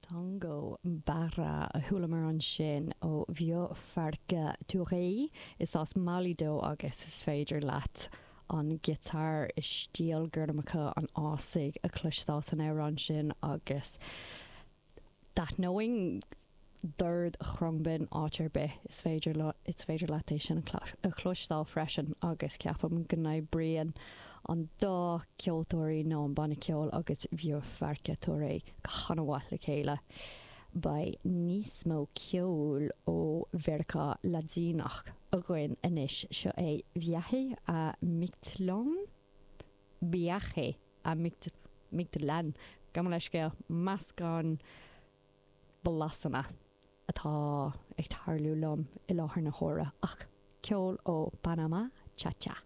Tango Barra a chualamar ansin ó Vieux Farka Touré. Is as Mailí dó agus is féidir leat an giotár i stíl gormacha an fhásaigh a chloisteáil san amhrán sin agus d'aithneoinn dord chromghinn áit ar bith is féidir is féidir leat é sin a chloisteáil freisin agus ceapaim go n-oibríonn an dá ceoltóirí nó an banna ceoil agus Vieux Farka Touré go han-mhaith le chéile. Beidh níos mó ceoil ó Mheiriceá Laidineach againn anois, seo é Viaje a Mictlán? Viaje a Mictlán, gabh mo leithscéal, meascán blasanna atá ag tarlú liom i láthair na huaire, ach ceol ó Panamá, cha cha.